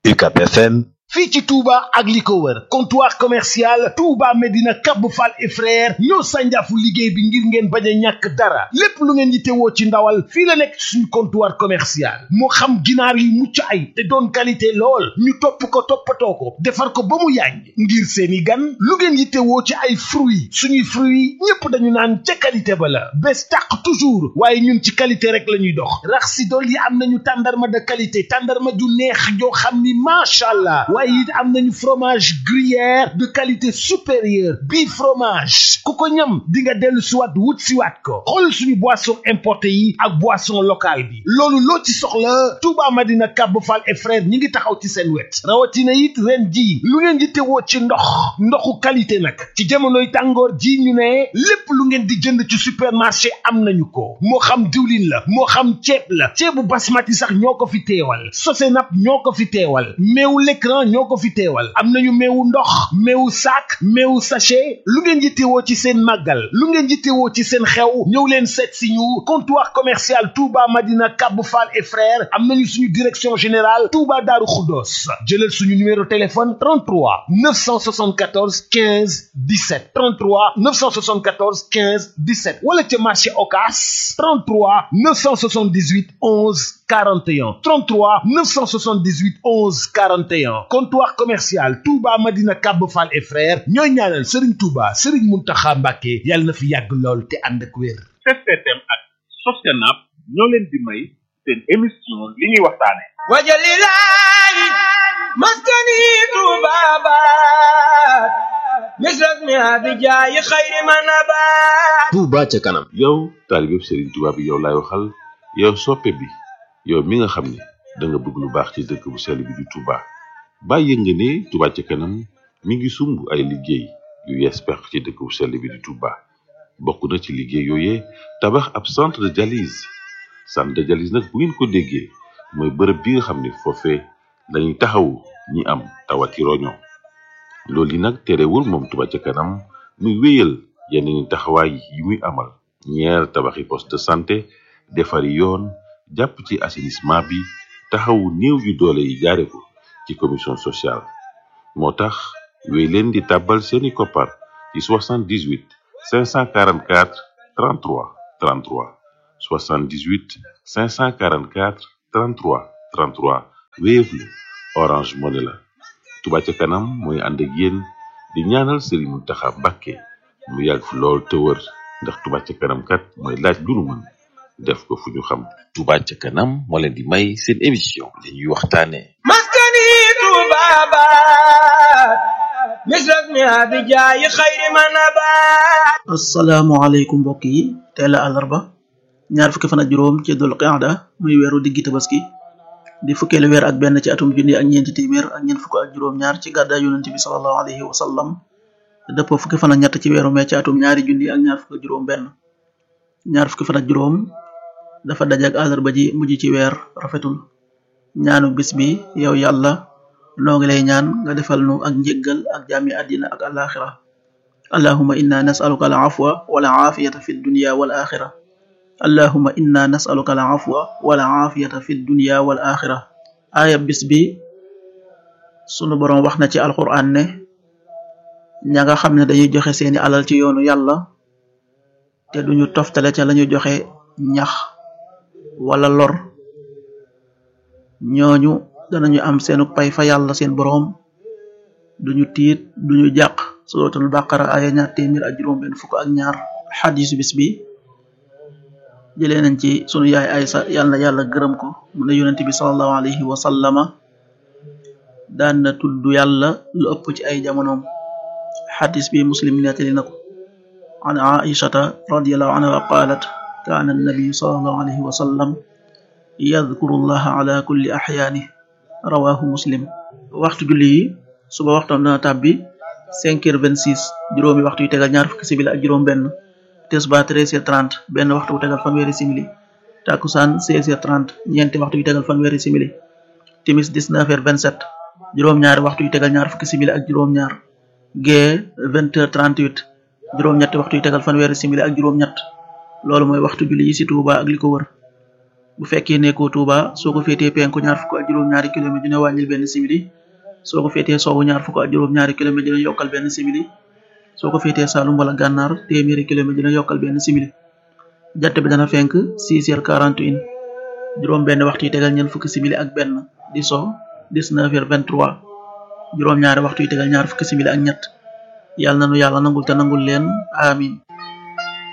UCAB FM. fii ci Touba ak li ko wër comptoir commercial Touba Medina Cap Fall et frère ñoo sànjaafu liggéey bi ngir ngeen bañ a ñàkk dara lépp lu ngeen yittewoo ci ndawal fii la nekk suñu comptoir commercial moo xam ginaar yu mucc ay te doon qualité lool ñu topp ko toppatoo ko defar ko ba mu yàññ ngir seeni gan lu ngeen yittewoo ci ay fruits suñuy fruits ñépp dañu naan ca qualité ba la bés tàq toujours waaye ñun ci qualité rek la ñuy dox rax si dool yi am nañu tàndarma de qualité tàndarma ju neex joo xam ni macha allah waaye it am nañu fromage gruyère de qualité supérieure bii fromage ku ko ñam di nga dellu siwaat wut siwaat ko xool suñu boisson importé yi ak boisson locale bi loolu loo ci soxla Touba Madina Cap Fall et frère ñi ngi taxaw ci seen wet rawatina it ren ji lu ngeen di tewoo ci ndoxu qualité nag ci jamonoy tàngoor ji ñu ne lépp lu ngeen di jënd ci supermarché am nañu ko moo xam diwlin la moo xam ceeb la ceebu basmati sax ñoo ko fi teewal Sosenap ñoo ko fi teewal meewu l'écran ñoo ko fi teewal am nañu meewu ndox meewu sac meewu sachet lu ngeen yittewoo ci seen màggal lu ngeen yittewoo ci seen xew ñëw leen seet si ñu comptoir commercial Touba Madina Cap Fall et frères am nañu suñu direction générale Touba Darou Khoudoss jëlal suñu numéro téléphone 33 974 15 17 33 974 15 17 wala ca marché Ocass 33 978 11 41 33 978 11 41 comptoir commercial Touba Madina Cap Fall et frères ñooy ñaanal Serigne Touba Serigne Mountakha Mbacké yàlla na fi yàgg lool te ànd ak wér. STM ak Sosenap ñoo leen di may seen émission li ñuy waxtaane wajalilahi maskani tubabat misras mi abijaayi xayri manabat Touba ca kanam. yow taalibe Serigne Touba bi yow laay waxal yow soppe bi yow mi nga xam ne da nga bëgg lu baax ci dëkk bu sell bi di Touba bàyyi nga ne Touba ca kanam mi ngi sumb ay liggéey yu yees peq ci dëkk bu sell bi di Touba bokk na ci liggéey yooyee tabax ab centre de dialyse nag bu ngeen ko déggee mooy bërëb bi nga xam ne foofee lañuy taxawu ñi am tawati roño loolu yi nag terewul moom Touba ca kanam muy wéyal yeneen taxawaay yi muy amal ñeer tabaxi poste de santé defari yoon jàpp ci assainissement bi taxawu néew yu doole yi jaare ko ci commission sociale moo tax wéy leen di tàbbal seeni koppar ci 78 544 33 33 78 544 33 33 Wave la Orange Money la Touba ca kanam mooy ànd ak yéen di ñaanal Serigne Mountakha Mbacké mu yàgg fi lool te wër ndax Touba ca kanam kat mooy laaj lu nu mën def ko fu ñu xam. Touba ca kanam moo leen di may seen émission li ñuy waxtaane maskani tubabat misras mi abijaayi xayri manabat asalaamaaleykum mbokk yi tey la àllarba ñaar fukki fan ak juróom ci dul qaada muy weeru diggi tabaski di fukkeelu weer ak benn ci atum junni ak ñeenti téeméer ak ñeent fukk ak juróom ñaar ci gàddaay yonent bi sallallahu alayhi wa sallam dëppoo fukki fan ak ñett ci weeru mee ci atum ñaari junni ak ñaar fukk ak juróom benn ñaar fukki fan ak juróom dafa daje ak àllarba ji mujj ci weer rafetul ñaanu bis bi yow yàlla noo ngi lay ñaan nga defal nu ak njéggal ak jaami àddina ak alaxira allahumma inna nas'aluka al-afwa wal afiyata fi dunya wal axira allahumma inna nas'aluka al-afwa wal afiyata fi dunya wal axira aaya bis bi sunu boroom wax na ci alquran ne ña nga xam ne dañuy joxe seeni alal ci yoonu yàlla te duñu toftale ca lañu joxe ñax wala lor ñooñu danañu am seenu pay fa yàlla seen boroom duñu tiit duñu jàq suratul baqara aya ñaar téeméer ak juróom benn fukk ak ñaar xadisu bis bi jëlee nañ ci sunu yaay Aysa yàlla na yàlla gërëm ko mu ne yonent bi sallallahu alayhi wa sallama daan na tudd yàlla lu ëpp ci ay jamonoom xadis bi muslim nettali na ko an aishata radiyallahu anha qalat kaana annabiyu sallallahu alayhi wa sallam yadhkuru llaha ala kulli axyaani rawahu muslim waxtu julli yi suba waxtam dana tàbbi 5h26 juróomi waxtu yu tegal ñaar fukki simili ak juróom benn tisbaar 13h30 benn waxtu wu tegal fanweeri simili takusaan 16h30 ñeenti waxtu yu tegal fanweeri simili timis 19h27 juróom ñaari waxtu yu tegal ñaar fukki simili ak juróom ñaar gee 20h38 juróom ñetti waxtu yu tegal fanweeri simili ak juróom ñett loolu mooy waxtu julli yi ci Touba ak li ko wër bu fekkee nekkoo Touba soo ko féetee penku ñaar fukk ak juróom-ñaari kilomètre dina wàññil benn simili soo ko féetee sowwu ñaar fukk ak juróom-ñaari kilomètre dina yokkal benn simili soo ko féetee Saalum wala Gànnaar téeméeri kilomètre dina yokkal benn simili jant bi dana fenk 6h41 juróom benn waxtu yi tegal ñeent fukki simili ak benn di so 19h23 juróom ñaari waxtu yi tegal ñaar fukki simili ak ñett yàlla nanu yàlla nangul te nangul leen amin